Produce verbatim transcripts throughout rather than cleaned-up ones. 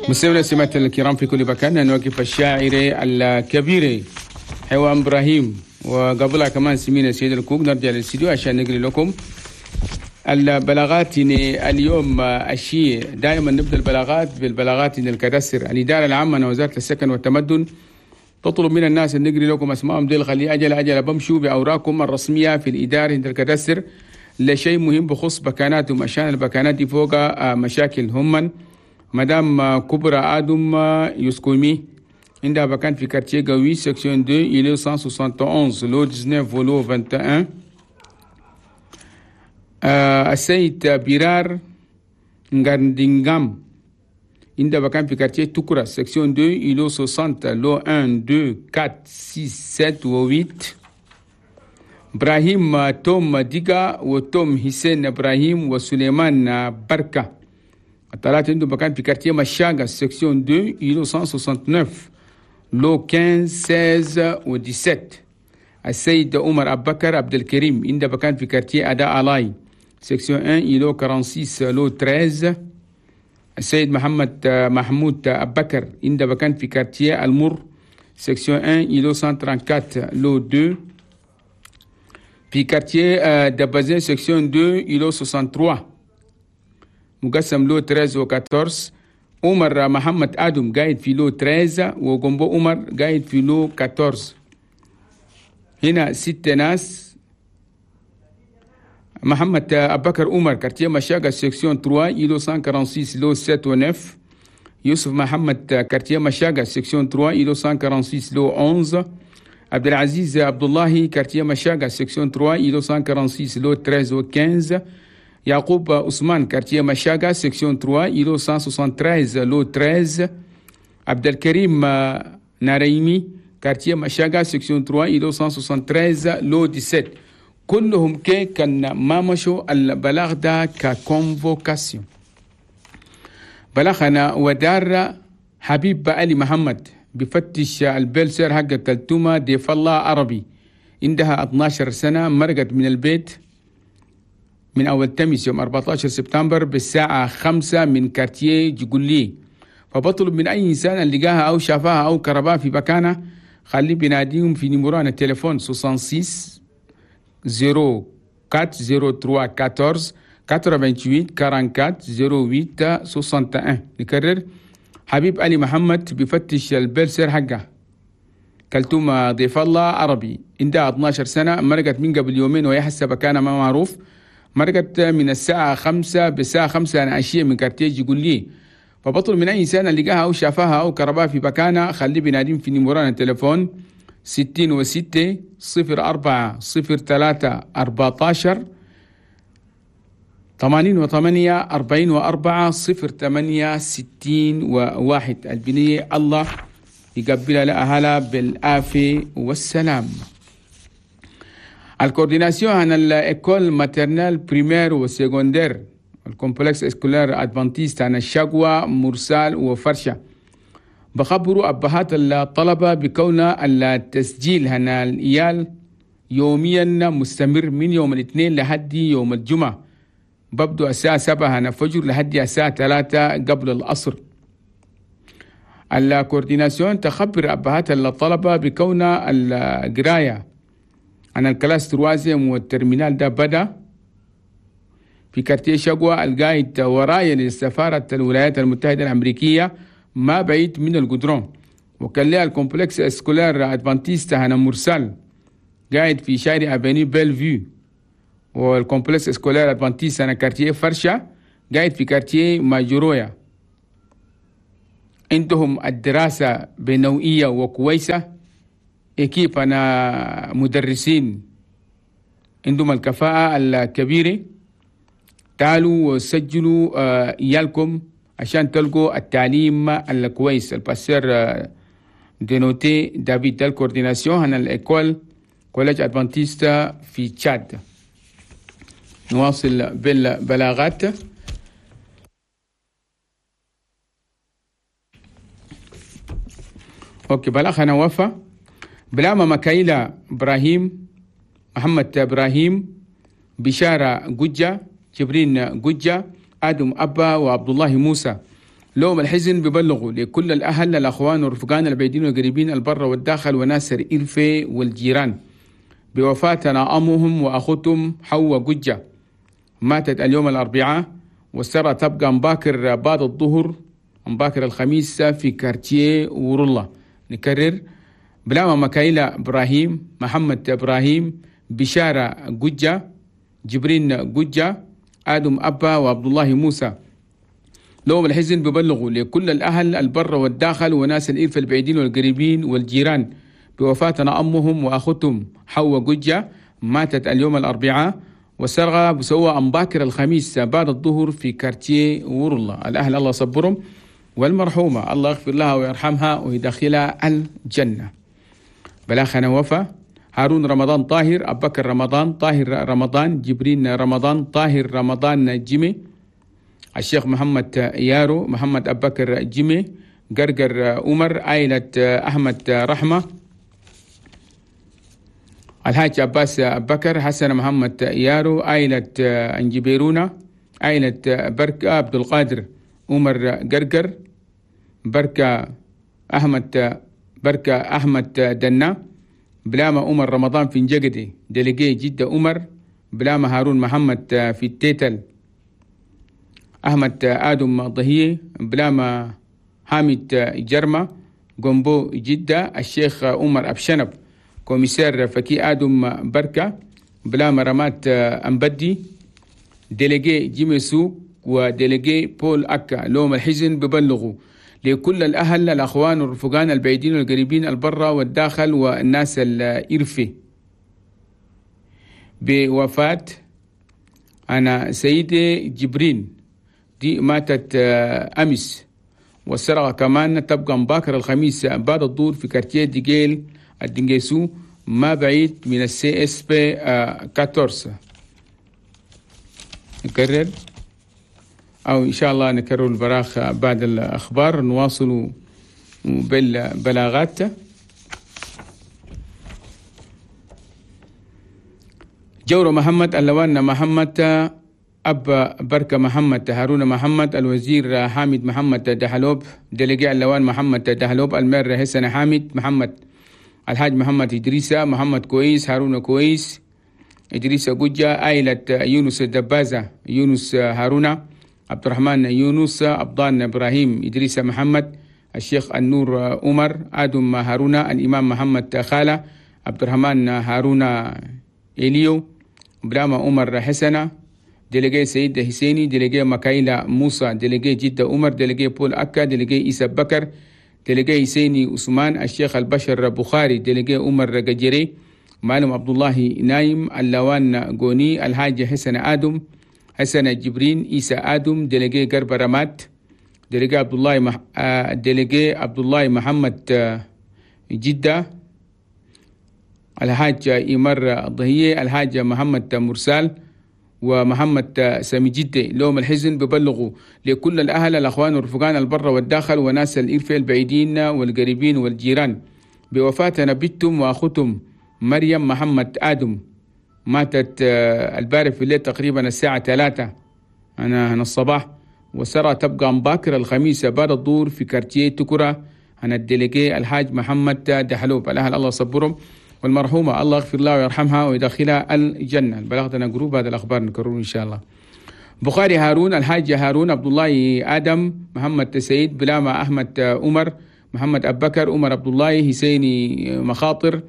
مستمعينا السمات الكرام في كل مكان، نوقف الشاعر الكبير حيوان ابراهيم، وقبلها كمان سمينا سيد الكوك. نرجع للاستديو عشان نقري لكم البلاغات اليوم. الشيء دائما نبدا البلاغات بالبلاغات ال cadastre. الادارة العامة وزارة السكن والتمدن تطلب من الناس ان نقري لكم اسمائهم ديل، خلي اجل اجل بمشوا باوراقكم الرسمية في الادارة عند ال cadastre لشيء مهم بخص بكاناتهم، عشان البكانات دي فوق مشاكل. هم مدام كبرى ادم يسكومي عندها بكان في quartier قوي section اثنين îlot مية وواحد وستين lot تسعة عشر و lot واحد وعشرين. آه السيد بيرار نغاندينغام عندها بكان في quartier توكرا section اثنين îlot ستين lot واحد اثنين أربعة ستة سبعة و ثمانية. ابراهيم توم ديغا وتوم حسين ابراهيم وسليمان بركة، الثلاثة عندهم مكان في quartier مشاغا section اثنين îlot مية وتسعة وستين lot خمسة عشر ستة عشر و سبعة عشر. السيد عمر أبو بكر عبد الكريم عنده مكان في quartier أداء ألاي section واحد îlot ستة وأربعين lot ثلاثة عشر. السيد محمد محمود أبو بكر عنده مكان في quartier المر section واحد îlot مية وأربعة وثلاثين lot اثنين. في quartier دبازين section اثنين îlot ثلاثة وستين مقسم lot ثلاثة عشر و أربعة عشر. عمر محمد آدم قاعد في lot ثلاثة عشر، وجنبه عمر قاعد في lot أربعة عشر. هنا ست ناس. محمد أبو بكر عمر quartier مشاقة section ثلاثة îlot مية وستة وأربعين lot سبعة و تسعة. يوسف محمد quartier مشاقة section ثلاثة îlot مية وستة وأربعين lot إحدى عشر. عبد العزيز عبد الله quartier مشاقة section ثلاثة îlot مية وستة وأربعين lot ثلاثة عشر و خمسة عشر. يعقوب عثمان quartier مشاقة section ثلاثة îlot مية وثلاثة وستين lot ثلاثة عشر. عبد الكريم ناريمي quartier مشاقة section ثلاثة îlot مية وثلاثة وستين lot سبعة عشر. كلهم كي كان ما مشوا البلاغ ده ك convocation. بلغنا ودار حبيب علي محمد بفتش ال belle-sœur حق كلتومة ديف الله عربي، عندها اثنا عشر سنة، مرقت من البيت من أول تمس يوم أربعة عشر سبتمبر بالساعة خمسة من quartier جقولي. فبطلب من أي إنسان لقاها أو شافها أو كربها في مكانها خليه بيناديهم في numéro التليفون ستة وستين صفر أربعة صفر ثلاثة أربعة عشر ثمانية وثمانين أربعة وأربعين صفر ثمانية واحد. نكرر، حبيب علي محمد بفتش ال belle-sœur حقه كلتومة ضيف الله عربي، عندها اثنا عشر سنة، مرقت من قبل يومين وهي حسب كان ما معروف، مرقت من الساعة خمسة بالساعة خمسة أنا عشية من quartier يقول لي. فبطلب من أي إنسان لقاها أو شافها أو كربها في مكانها خليه بيناديهم في numéro التليفون ستين وستة صفر أربعة صفر ثلاثة أربعتاشر ثمانين وثمانية أربعين وأربعة صفر ثمانية ستين وواحد. البنية الله يقبلها لأهلها بالعافية والسلام. ال coordination عن ال école maternelle primaire و secondaire ال complexe scolaire adventiste عن الشقوة مرسال وفرشة بخبروا أبهات الطلبة بكون التسجيل هنا الإيال يوميا مستمر من يوم الاثنين لحد يوم الجمعة، ببدو الساعة سبعة هنا فجر لحد الساعة ثلاثة قبل العصر. ال coordination تخبر أبهات الطلبة بكون القراية عن ال classe troisième وال terminale ده بدأ في quartier شقوة القايد ورايا لسفارة الولايات المتحدة الأمريكية ما بعيد من القدرون. وكان لها ال complexe scolaire adventiste هنا مرسال قاعد في شارع avenue Bellevue، وال complexe scolaire adventiste هنا quartier فرشة قاعد في quartier ماجورويا. عندهم الدراسة بنوعية وكويسة، équipe أنا مدرسين عندهم الكفاءة الكبيرة. تعالوا وسجلوا عيالكم عشان تلقوا التعليم الكويس. ال pasteur دينوتي دافيد دال coordination هنا ال école collège adventiste في تشاد. نواصل بالبلاغات. OK بلاغ هنا وفا بلاما مكايلة إبراهيم محمد إبراهيم بشارة جوجة جبرين جوجة آدم أبا وعبد الله موسى. لوم الحزن ببلغوا لكل الأهل الأخوان والرفقان البعيدين والقريبين البر والداخل وناس الإرفي والجيران بوفاتنا أمهم وأخوتهم حواء قجة، ماتت اليوم الأربعاء، والسرى تبقى مباكر بعد الظهر مباكر الخميس في كارتيه ورلا. نكرر بلاما مكايلة إبراهيم، محمد إبراهيم، بشارة قجة، جبرين قجة، آدم أبا وعبد الله موسى. لهم الحزن ببلغوا لكل الأهل البر والداخل وناس الإرف البعيدين والقريبين والجيران بوفاتنا أمهم وأخوتهم حواء قجة، ماتت اليوم الأربعاء، والسرغة بسوى أمباكر الخميس بعد الظهر في كارتيه ورلا. الأهل الله صبرهم، والمرحومة الله يغفر لها ويرحمها ويدخلها الجنة. بلاخنا وفا هارون رمضان طاهر، أبو بكر رمضان، طاهر رمضان، جبرين رمضان، طاهر رمضان جيمي، الشيخ محمد يارو، محمد أبو بكر جيمي، قرقر عمر، عائلة أحمد رحمة، الحاج عباس أبو بكر، حسن محمد يارو، عائلة أنجبيرونا، عائلة بركة عبد القادر عمر قرقر، بركة أحمد بركة أحمد دنا، بلاما عمر رمضان في نجقدي، délégué جدة عمر، بلاما هارون محمد في التيتل، أحمد آدم ضهية، بلاما حامد جرمة جنبو جدة، الشيخ عمر أبشنب commissaire فكي آدم بركة، بلاما رمات أمبدي، délégué جيمسو و délégué بول أكا. لوم الحزن ببلغوا لكل الأهل الأخوان والرفقان البعيدين والقريبين البرة والداخل والناس الإرفي بوفاة أنا سيدي جبرين، دي ماتت أمس، والسرقة كمان تبقى مباكر الخميس بعد الظهر في quartier ديجيل الدنجيسو ما بعيد من ال CSP أربعة عشر. نكرر أو إن شاء الله نكرر البراخ بعد الأخبار، نواصل بالبلاغات. جورو محمد، اللوان محمد، أب بركة محمد، هارون محمد، الوزير حامد محمد دهلوب، délégué اللوان محمد دهلوب، ال maire حسن حامد محمد، الحاج محمد إدريسة، محمد كويس، هارون كويس، إدريسة قجة، عائلة يونس الدبازة، يونس هارون، عبد الرحمن يونس، أبضان إبراهيم، إدريس محمد، الشيخ النور عمر، آدم هارون، الإمام محمد خالة، عبد الرحمن هارون إليو، بلاما عمر حسنة، délégué سيد حسيني، délégué مكايلة موسى، délégué جدة عمر، délégué بول أكا، délégué إيسا بكر، délégué حسيني عثمان، الشيخ البشر بخاري، délégué عمر قجري، معلم عبد الله نايم، اللوان غوني، الحاج حسن آدم، حسن جبرين، إيسا آدم، délégué قرب رمات، délégué عبد الله مح... délégué عبد الله محمد جدة، الحاج إمر الضهية، الحاج محمد مرسال، ومحمد سامي جدة. لوم الحزن ببلغوا لكل الأهل الأخوان والرفقان البر والداخل وناس الإرفة البعيدين والقريبين والجيران بوفاة نبيتهم وأخوتهم مريم محمد آدم، ماتت البارح في الليل تقريبا الساعة ثلاثة أنا هنا الصباح، وسرى تبقى مباكر الخميس بعد الظهر في quartier تكرة أنا ال délégué الحاج محمد دحلوب. الأهل الله صبرهم، والمرحومة الله يغفر لها ويرحمها ويدخلها الجنة. بلغتنا groupe هذا الأخبار نكرر إن شاء الله. بخاري هارون، الحاج هارون، عبد الله آدم، محمد سيد، بلاما أحمد عمر، محمد أبو بكر، عمر عبد الله، حسيني مخاطر،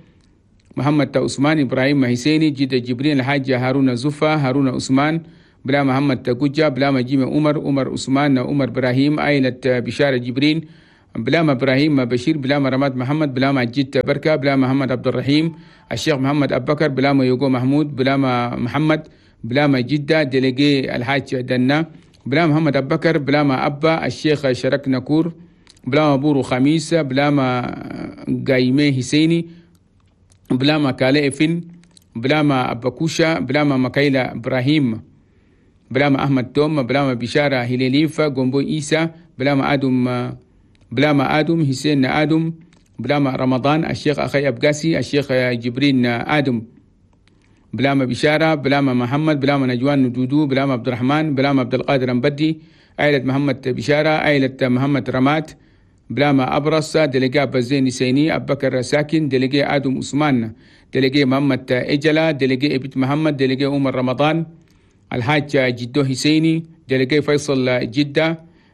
محمد عثمان، إبراهيم حسيني، جدة جبرين، الحاج هارون زفا، هارون عثمان، بلا محمد قجة، بلا مجيم عمر، عمر عثمان، عمر إبراهيم، عائلة بشارة جبرين، بلا إبراهيم بشير، بلا رماد محمد، بلا مجيد بركة، بلا محمد عبد الرحيم، الشيخ محمد أبو بكر، بلا يوغو محمود، بلا محمد، بلا جدة، délégué الحاج دنا، بلا محمد أبو بكر، بلا أبا الشيخ شرك نكور، بلا بورو خميس، بلا قايمة حسيني، بلا ما كالي إفن، بلا ما أبكوشا، بلا ما مكايلة إبراهيم، بلا ما أحمد توم، بلا ما بشارة هلاليفة، جنبو إيسا، بلا ما آدم، بلا ما آدم حسين آدم، بلا ما رمضان، الشيخ أخي أبقاسي، الشيخ جبرين آدم، بلامة بشارة، بلامة محمد، بلامة نجوان ندودو، بلامة عبد الرحمن، بلامة عبد القادر أمبدي، عائلة محمد بشارة، عائلة محمد رمات، بلامة أبرص، دلقاء بزين سيني، أبو بكر ساكن، دلقاء آدم عثمان، دلقاء محمد إجلا، دلقاء إبت محمد، دلقاء عمر رمضان، الحاج جدو حسيني، دلقاء فيصل جدة،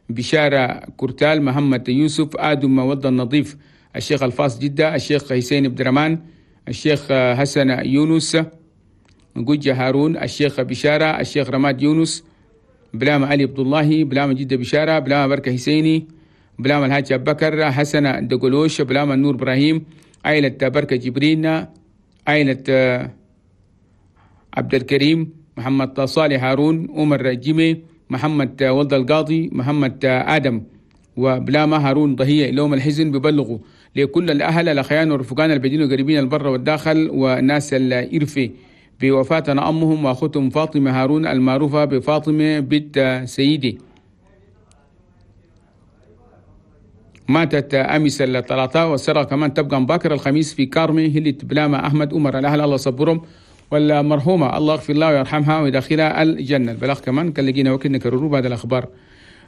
بشارة كرتال، محمد يوسف، آدم ود النظيف، الشيخ الفاس جدة، الشيخ حسين عبد الرحمن، الشيخ حسن يونس، جوجة هارون، الشيخ بشارة، الشيخ رماد يونس، بلامة علي عبد الله، بلامة جدة بشارة، بلامة بركة حسيني، بلامة الحاج أبو بكر، حسن دقلوش، بلامة نور إبراهيم، عائلة بركة جبرين، عائلة عبد الكريم، محمد صالح هارون، عمر جيمي، محمد ولد القاضي، محمد آدم، وبلامة هارون ضهية. لهم الحزن ببلغوا لكل الأهل الأخيان والرفقان البدين وقريبين البر والداخل وناس الإرفي بوفاتنا أمهم وأختهم فاطمة هارون المعروفة بفاطمة بنت سيدي، ماتت أمس الثلاثاء، والسرة كمان تبقى باكر الخميس في كارمي هلة بلامة أحمد عمر. الأهل الله صبرهم، والمرحومة الله يغفر لها ويرحمها ويدخلها الجنة. البلاغ كمان كان لقينا وقت نكرروا بعد الأخبار.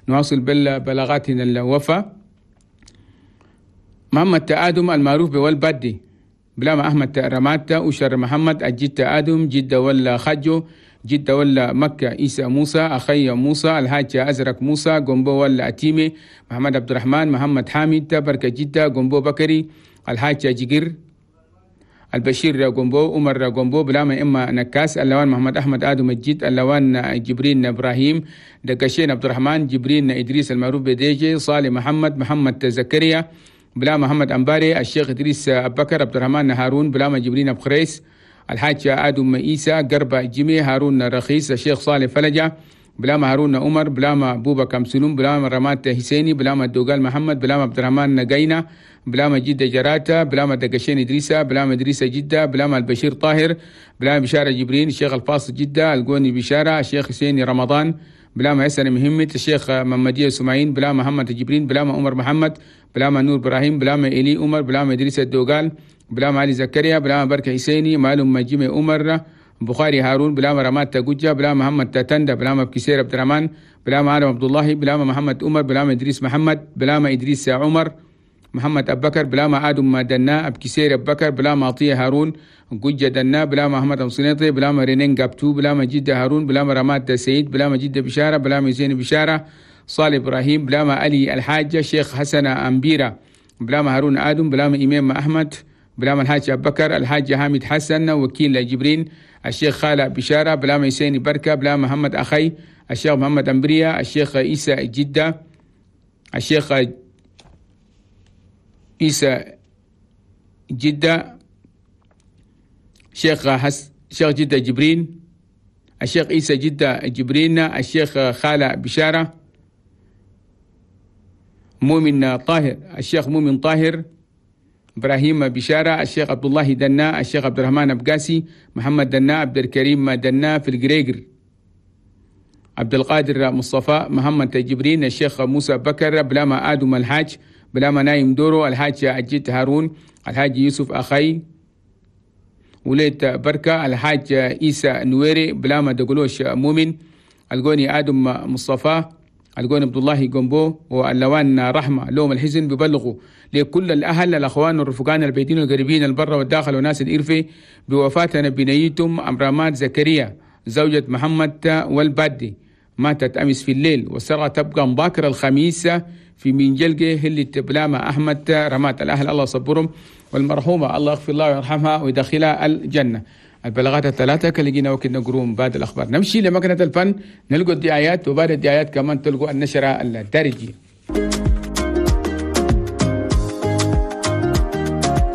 نواصل بالبلاغاتنا الوفاة. محمد آدم المعروف بوالبادي، بلامة أحمد رمات، أشر محمد، الجد آدم، جدة ولا خجو، جدة ولا مكة، إيسى موسى، أخي موسى، الحاج أزرق موسى، قنبو ولا أتيمي، محمد عبد الرحمن، محمد حامد، بركة جدة، قنبو بكري، الحاج جقر، البشير قنبو، عمر قنبو، بلامة إما نكاس، اللوان محمد أحمد آدم الجد، اللوان جبرين إبراهيم، دقشين عبد الرحمن، جبرين إدريس المعروف بديجي، صالح محمد، محمد زكريا، بلا محمد أنباري، الشيخ إدريس أبو بكر، عبد الرحمن هارون، بلاما جبرين أبو خريس، الحاج آدم إيسى، قربة جيمي، هارون رخيص، الشيخ صالح فلجة، بلاما هارون عمر، بلاما بوبا كمسلوم، بلاما رمات حسيني، بلاما الدوغال محمد، بلاما عبد الرحمن نقينة، بلاما جدة جراتا، بلاما دقشين إدريسة، بلاما إدريسة جدة، بلاما البشير طاهر، بلاما بشارة جبرين، الشيخ الفاصل جدة، القوني بشارة، الشيخ حسيني رمضان، بلاما يسر مهمة، الشيخ محمدية سمعين، بلاما محمد جبرين، بلاما عمر محمد، بلاما نور إبراهيم، بلاما إلي عمر، بلاما إدريس الدوغال، بلاما علي زكريا، بلاما بركة حسيني، معلوم جيمي عمر، بخاري هارون، بلاما رماد تجوجة، بلاما محمد تتندى، بلاما بكسير عبد الرحمن، بلاما آدم عبد الله، بلاما محمد عمر، بلاما إدريس محمد، بلاما إدريس عمر، محمد أبو بكر، بلاما آدم دنا، أبكسير أبو بكر، بلاما عطية هارون، جوجة دنا، بلاما محمد أمصنيطي، بلاما رينين قابتو، بلاما جدة هارون، بلاما رماد سيد، بلاما جدة بشارة، بلاما زين بشارة، صالح إبراهيم، بلاما علي الحاجة، شيخ حسن أمبيرة، بلاما هارون آدم، بلاما إمام أحمد، بلاما الحاج أبو بكر، الحاج حامد حسن، وكيل جبرين، الشيخ خالد بشارة، بلاما يسيني بركة، بلاما محمد أخي، الشيخ محمد أمبريا، الشيخ إيسى جدة، الشيخ إيسى جدة، شيخ حس شيخ جدة جبرين، الشيخ إيسى جدة جبرين، الشيخ خالد بشارة، مؤمن طاهر، الشيخ مؤمن طاهر، إبراهيم بشارة، الشيخ عبد الله دنا، الشيخ عبد الرحمن أبقاسي، محمد دنا، عبد الكريم دنا في الجريجر، عبد القادر مصطفى، محمد جبرين، الشيخ موسى بكر، بلاما آدم الحاج، بلاما نايم دورو، الحاج أجيت هارون، الحاج يوسف أخي، وليت بركة، الحاج إيسى نويري، بلاما دقلوش مؤمن، القوني آدم مصطفى، القون عبد الله جنبو، واللوان رحمة. لوم الحزن ببلغوا لكل الأهل الأخوان والرفقان البيتين والقريبين البر والداخل وناس الإرفي بوفاة بنيتم أمرامات زكريا زوجة محمد والبادي، ماتت أمس في الليل، والسرعة تبقى مباكر الخميس في منجلقة هلة بلامة أحمد رمات. الأهل الله صبرهم، والمرحومة الله يغفر الله ويرحمها ويدخلها الجنة. البلاغات الثلاثة كلقينا وكنا نقروم بعد الأخبار. نمشي لمكنة الفن نلقوا الدعايات، وبعد الدعايات كمان تلقوا النشرة الدارجية.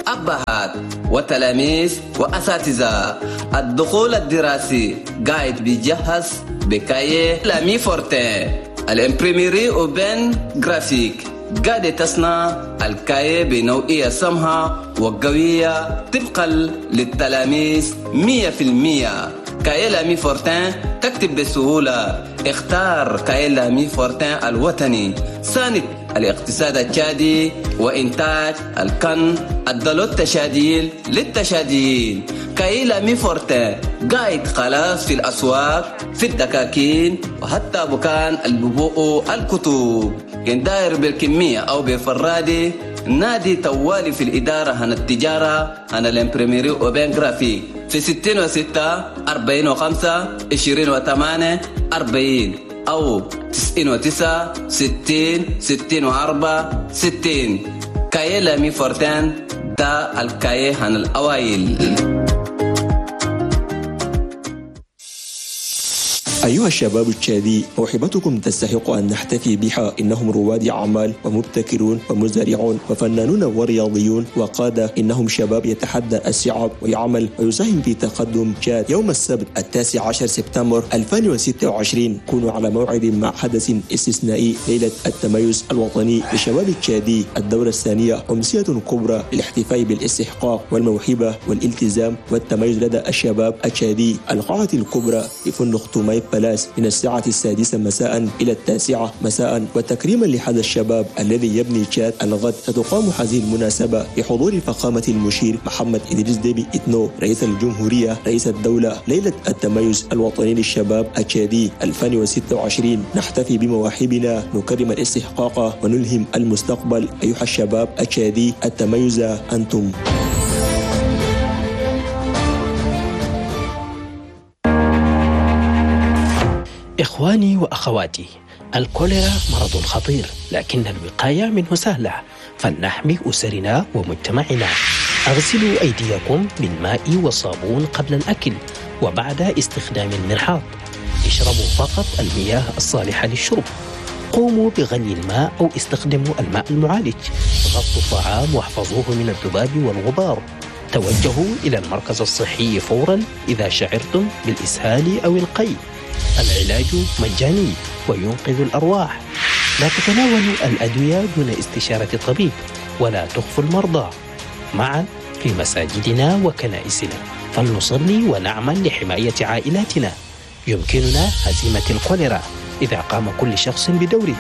أبهات وتلاميذ وأساتذة، الدخول الدراسي قاعد بيجهز ب cahier Lamy Fortin، ال imprimerie Oben Graphique قاعدة تصنع ال cahier بنوعية سمحة وقوية طبقا للتلاميذ مية في المية. cahier Lamy Fortin تكتب بسهولة. اختار cahier Lamy Fortin الوطني ساند الاقتصاد التشادي وإنتاج الكن الدلو التشاديل للتشاديين. cahier L'Ami Fortin قاعد خلاص في الأسواق، في الدكاكين، وحتى بكان الببوء الكتب. كان داير بالكمية أو بفرادي نادي توالي في الإدارة هنا التجارة هنا ال imprimerie Aubaine Graphique في ستين وستة أربعين وخمسة عشرين وثمانية أربعين أو تسعين وتسعة ستين ستين وأربعة ستين. cahier L'Ami Fortin دا ال cahier هنا الأوائل. أيها الشباب التشادي، موهبتكم تستحق أن نحتفي بها. إنهم رواد أعمال ومبتكرون ومزارعون وفنانون ورياضيون وقادة. إنهم شباب يتحدى الصعاب ويعمل ويساهم في تقدم تشاد. يوم السبت التاسع عشر سبتمبر ألفين وستة وعشرين كونوا على موعد مع حدث استثنائي، ليلة التميز الوطني للشباب التشادي، الدورة الثانية، أمسية كبرى للاحتفاء بالاستحقاق والموهبة والالتزام والتميز لدى الشباب التشادي. القاعة الكبرى بفندق توماي بالاس من الساعة السادسة مساء إلى التاسعة مساء. وتكريما لهذا الشباب الذي يبني تشاد الغد، ستقام هذه المناسبة بحضور فخامة المشير محمد إدريس ديبي إتنو رئيس الجمهورية رئيس الدولة. ليلة التميز الوطني للشباب التشادي ألفين وستة وعشرين، نحتفي بمواهبنا، نكرم الاستحقاق ونلهم المستقبل. أيها الشباب التشادي، التميز أنتم. إخواني وأخواتي، الكوليرا مرض خطير، لكن الوقاية منه سهلة، فلنحمي أسرنا ومجتمعنا. أغسلوا أيديكم بالماء والصابون قبل الأكل وبعد استخدام المرحاض. اشربوا فقط المياه الصالحة للشرب. قوموا بغلي الماء أو استخدموا الماء المعالج. غطوا الطعام واحفظوه من الذباب والغبار. توجهوا إلى المركز الصحي فورا إذا شعرتم بالإسهال أو القيء. العلاج مجاني وينقذ الأرواح. لا تتناولوا الأدوية دون استشارة الطبيب، ولا تخفوا المرضى. معا في مساجدنا وكنائسنا فلنصلي ونعمل لحماية عائلاتنا. يمكننا هزيمة الكوليرا إذا قام كل شخص بدوره.